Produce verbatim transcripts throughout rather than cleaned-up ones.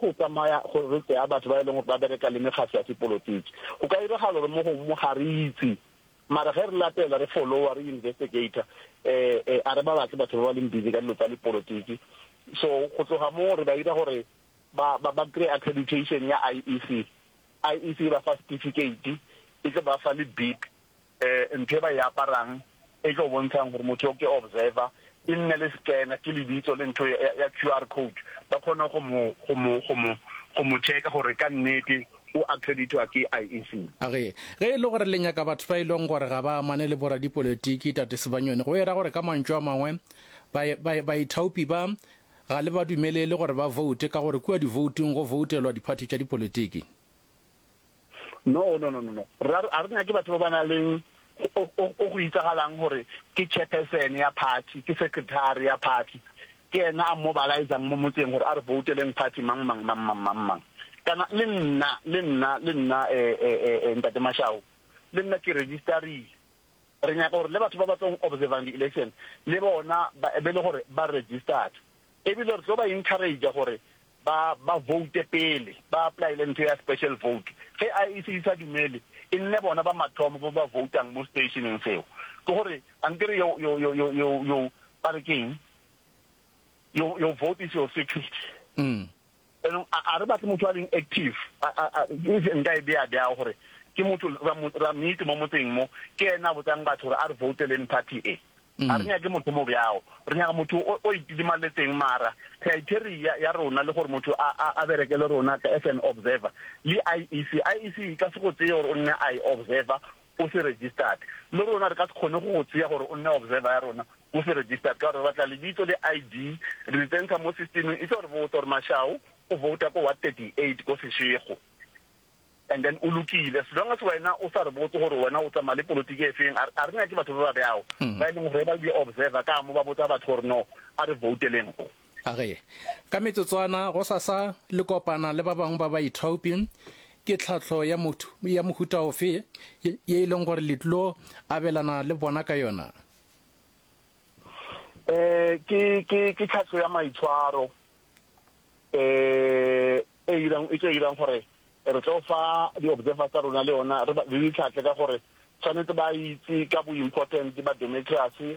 go tsamaya gore re tseya batho ba e leng gore ba bereka le mekgatlo ya sepolotiki. Go ka iragala gore mo gongwe mo ga re itse, mara ge re latela, re followa, re investigator, eh eh a re ba batle batho ba ba leng busy ka dilo tsa dipolotiki. So go tloga mo re ba ira gore ba ba ba kry accreditation ya I E C. I E C e ba fa certificate, e tlo ba fa le bib, eh ntho e ba e aparang e tlo bontshang gore motho o ke observer, e nne le scanner, ke lebitso le ntho ya, ya Q R code, ba kgone go mo go mo go mo go mo checka gore ka nnete o accreditwa ke I E C. Age, ge e le gore le nyaka batho ba e leng gore ga ba amane le boradipolotiki, tate Sibanyoni, go era gore ka mantšu a mangwe baithaopi ba ga le ba dumelele gore ba vote, ka gore kua divouting go voutelwa diphathi tša dipolotiki? no no no no no re a re nyake batho ba ba nang leng o go itsagalang gore ke chairperson ya party, ke secretary ya party, ke ena a mobilizang mo motseng gore a re voteleng party mang mang mang mang mang mang. Kana le nna le nna le nna eh eh eh ntate Mashao, le nna ke registerile. Re nyaka gore le batho ba ba tlong observang di-election le bona ba be le gore ba registered, ebile re tlo ba encourage gore ba ba vote pele ba applyele ntho ya special vote. Ge I E C e sa dumele, e nne bona ba mathomo ba ba votang mo stationeng seo. Ke gore ankere yo yo yo yo yo yo ba re keng, your your vote is your secret. mm. Enong a re batle motho a leng active, nka e bea bjao gore ke motho ra meet mo motseng mo, ke ena a botsang batho gore a re voteleng party e. A re nyake motho mo bjao, re nyaka motho o itidimaletseng. Mara criteria ya rona le gore motho a a bereke le rona as an observer le I E C, I E C e ka se go tseye gore o nne i observer o se registered. Le rona re ka se kgone go go tseya gore o nne observer ya rona o se registered, ka gore re batla lebitso le I D, re di tsentsha mo systemeng, e tse gore botsa gore Mashao o vouta ko ward thirty eight ko Seshego, and then o lokile. As long as wena o sa re botse gore wena o tsamaya le politiki e feng, a re nyake batho ba ba bjao ba e leng gore ba di observer ka mo ba botsa batho gore no, a re voteleng go. Age, ka metsotswana, go sasa le kopana le ba bangwe ba baithaopi. Ke tlhahlo ya motho ya mohuta ofe ye e leng gore le tlo abelana le bona ka yona? eh ke ke ke tlhahlo ya maitshwaro eh e irang e tlo irang gore re tlo fa di-observer tsa rona le yona, re di tlhatlhe ka gore tshwanetse ba itse ka bo important ba democracy,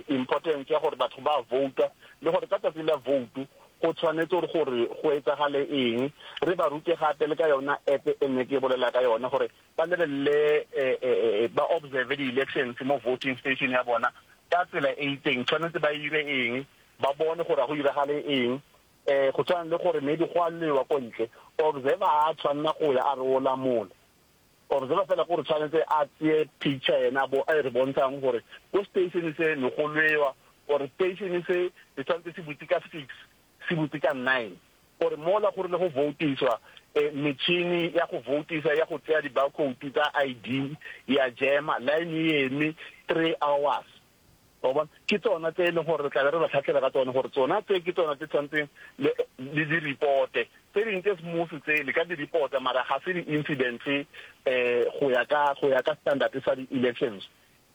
importance ya gore batho ba vouta, le gore ka tsatsi la vote go tshwanetse gore gore go etsagale eng. Re ba rute gape le ka yona app e nne ke bolela ka yona, gore ba lebelele, ba observe di-elections mo voting station ya bona ka tsela e itseng, tshwanetse ba ire eng, ba bone gore go iragale eng. um go tshwana le gore maybe go a lewa ko ntle, observer a tshwanela go ya a re o lamola. Observer fela gore tshwanetse a tseye picture yena bo a e re bontshang gore ko station se ne go lwewa, or station se se tshwanetse se butse ka six, se butse ka nine, gore mola gore le go votiswa, eh, metšhini ya go votisa ya go tseya di-barcode tsa I D ya jema, line e eme three hours wa bona. Ke tsona tse e leng gore re tlabe re ba tlhatlhela ka tsone, gore tsona tse ke tsona tse tshwanetseng le di-reporte. Tse dingwe tse smooth tse le ka di-reporta, mara ga se di-incidents um go ya ka go ya ka standard sa di-elections.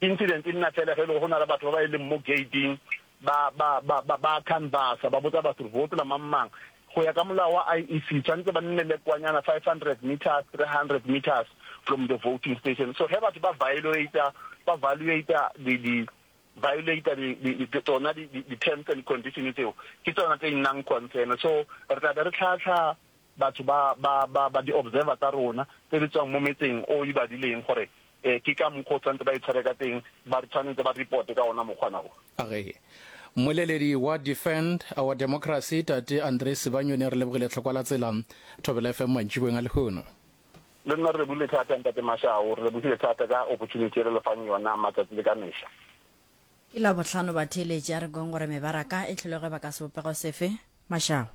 Incident e nna fela ge e le go na le batho ba ba e leng mo gating, ba ba ba ba ba canvassa, ba botsa batho vote la mang mang. Go ya ka molao wa I E C, tshwanetse ba nne le kwanyana five hundred meters, three hundred meters from the voting station. So ge batho ba violata ba violata di di violata di tsona di-terms and conditions tseo, ke tsona tse nnang concern. So re tla be re tlhatlha batho ba ba ba ba di-observer tsa rona tse di tswang mo metseng o e badileng gore eh ke ka mokgwa o tshwanetse ba itshware ka teng, ba re tshwanetse ba reporte ka ona mokgwana o. Age, mmoleledi wa Defend Our Democracy, tate Andre Sibanyoni, re lebogile tlhokwa la tsela Thobela F M mantšiboeng a lehono. Le nna re lebogile thata, ntate Mashao, re lebogile thata ka opportunity e re lefang yona matsatsi le ka mehla. Ke la bohlano batheeletši, a re kweng gore mebaraka e tlholege ba ka sebopego sefe, Mashao.